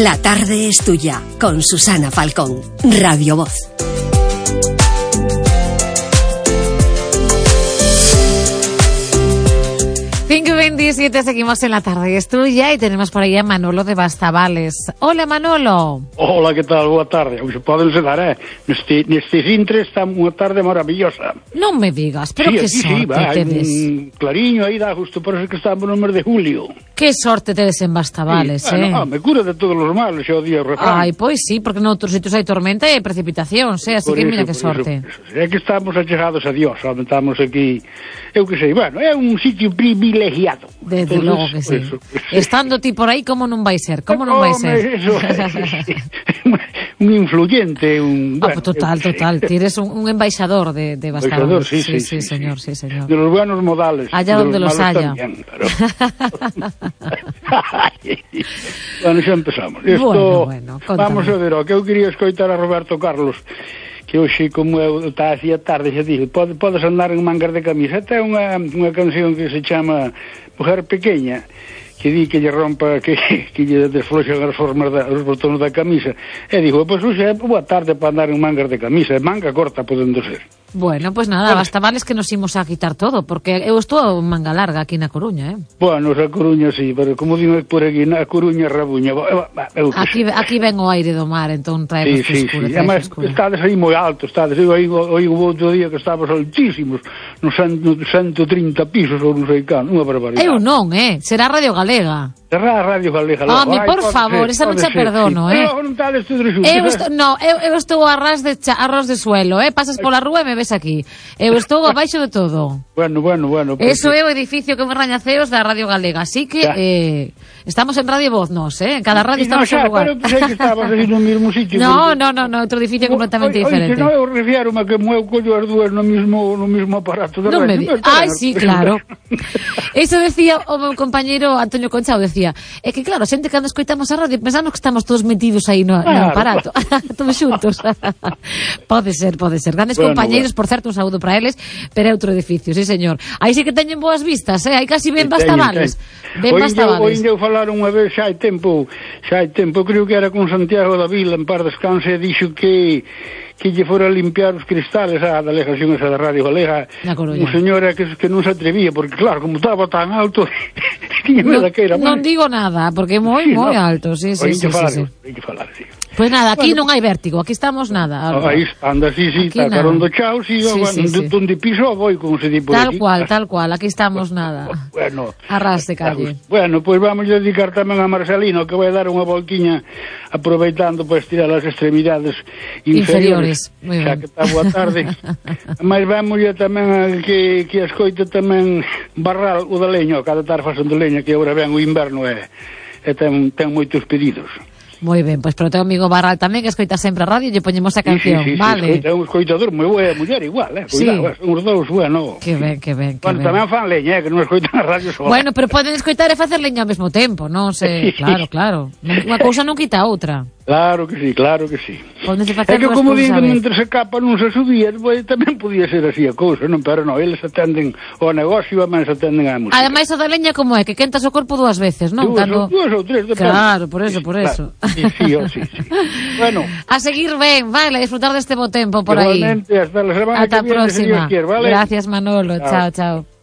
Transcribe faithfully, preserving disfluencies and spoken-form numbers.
La tarde es tuya, con Susana Falcón, Radio Voz. cinco veintisiete, seguimos en La tarde es tuya y tenemos por ahí a Manolo de Bastavales. Hola, Manolo. Hola, que tal? Boa tarde. Hoxe podense dar, eh? Neste, neste cintre está unha tarde maravillosa. Non me digas, pero sí, que sí, sorte sí, va, tedes. Un clariño aí dá justo por eso que estamos no mes de julio. Que sorte tedes en Bastavales, sí, eh? Bueno, ah, me cura de todos os males, xa o día o refrán. Ai, pois sí, porque noutros sitios hai tormenta e precipitación, eh? Así por que eso, mira que eso, sorte. Eso, eso. É que estamos achegados a Dios, estamos aquí, eu que sei, bueno, é un sitio privilegiado. Desde entonces, logo que sí. Eso, eso. Estando ti por aí, como non vai ser? Como non vai ser? Eso, sí. Un influyente, un... Ah, Bueno, pues total, total. Ti eres un, un embaixador de, de Bastavales. Sí, sí, sí, sí, señor, sí. sí, señor. De los buenos modales. Allá donde los, los haya. También, pero... Bueno, xa empezamos. Esto, bueno, bueno, vamos a ver, o que eu quería escoitar a Roberto Carlos, que hoxe, como eu está así a tarde, xa dije, pode, podes andar en mangas de camisa. Esta é unha, unha canción que se chama Mujer Pequeña, que di que lle rompa, que, que lle desfloxan as formas da, os botóns da camisa, e digo, pois hoxe é boa tarde para andar en mangas de camisa, manga corta podendo ser. Bueno, pues nada, Bastavales que nos imos a quitar todo, porque eu estou en manga larga aquí na Coruña, eh? Bueno, a Coruña sí, pero como digo por aquí, na Coruña rabuña. Eu, aquí, aquí ven o aire do mar, entón trae sí, frescura. Sí, sí, además estades aí moi alto, estades, eu aí o outro día que estabas altísimos, nos ciento trinta pisos ou non sei can, unha barbaridade. Eu non, eh? Será Radio Galega. Será a Radio Galega. Home, por favor, esa non xa perdono, eh? Non estades todos xuntos. Eu estou, no, eu, eu estou a ras de, cha, a ras de suelo, eh? Pasas pola rúa e me ves aquí. Eu estou abaixo de todo. Bueno, bueno, bueno. Porque... Eso é o edificio que me rañaceos da Radio Galega, así que eh, estamos en Radio Voz, nos, eh? En cada radio sí, estamos no, xa, en lugar. Pero pensei que estabas aí no mesmo sitio. No, porque... no, no, no, outro edificio o, completamente o, diferente. O, o, eu refiero-me a que eu collo as dúas no mismo, no mismo aparato de no radio. Me di... Ai, sí, claro. Eso decía o meu compañeiro Antonio Conchao, decía, é que claro, a xente cando escoitamos a radio pensamos que estamos todos metidos aí no, claro, no aparato, todos xuntos. Pode ser, pode ser. Grandes bueno, compañeiros, bueno. Por certo, un saúdo para eles, pero é outro edificio, sí, señor. Aí sí que teñen boas vistas, eh? Aí casi ben Bastavales. Ben Bastavales. Hoy eu falar unha vez, xa hai tempo, xa hai tempo, creo que era con Santiago da Vila, en par descanse, e dixo que que lle fora a limpiar os cristales a delegación esa da Radio Galega, un señora que, que non se atrevía, porque claro, como estaba tan alto, no, non digo nada, porque é moi, sí, moi no. alto, sí, sí, sí, falar, sí, sí. Falar, sí. Pues nada, aquí bueno, non hai vértigo, aquí estamos nada. No, aí anda, sí, sí, está carondo chao, sí, sí, bueno, sí, sí. Donde piso voy, como se di por tal aquí. cual, tal cual, aquí estamos nada. Bueno, arras de calle. Bueno, pues vamos a dedicar tamén a Marcelino, que vai dar unha voltiña aproveitando para estirar as extremidades inferiores. Inferiores, xa que está boa tarde. Mas vamos ya tamén a que, que escoite tamén Barral, o da leño, cada tarde facendo leña, que agora ven o inverno e, e ten, ten moitos pedidos. Moi ben, pois pero teu amigo Barral tamén que escoita sempre a radio e lle poñemos a canción, sí, sí, sí, vale? Sí, é un escoitador moi boa muller igual, eh? Cuidado, sí. Uns dous, bueno. Que ben, que ben, que bueno, ben. Tamén fan leña, eh, que non escoitan a radio sola. Bueno, pero poden escoitar e facer leña ao mesmo tempo, non sei, claro, claro. Unha cousa non quita a outra. Claro que sí, claro que sí. É que como digo, mentre se capa non se subía, pues, tamén podía ser así a cousa, non? Pero non, eles atenden ao negocio e máis atenden á música. Ademais, o da leña como é, que quentas o corpo dúas veces, non? Dúas, Cando... dúas ou tres, depende. Claro, por eso, por eso. Claro. Sí, sí, oh, sí, sí. Bueno. A seguir ben, vale, a disfrutar deste bo tempo por aí. Igualmente, hasta la semana Ata que viene, próxima. Dios quiere, ¿vale? Gracias, Manolo. Chao, chao. chao.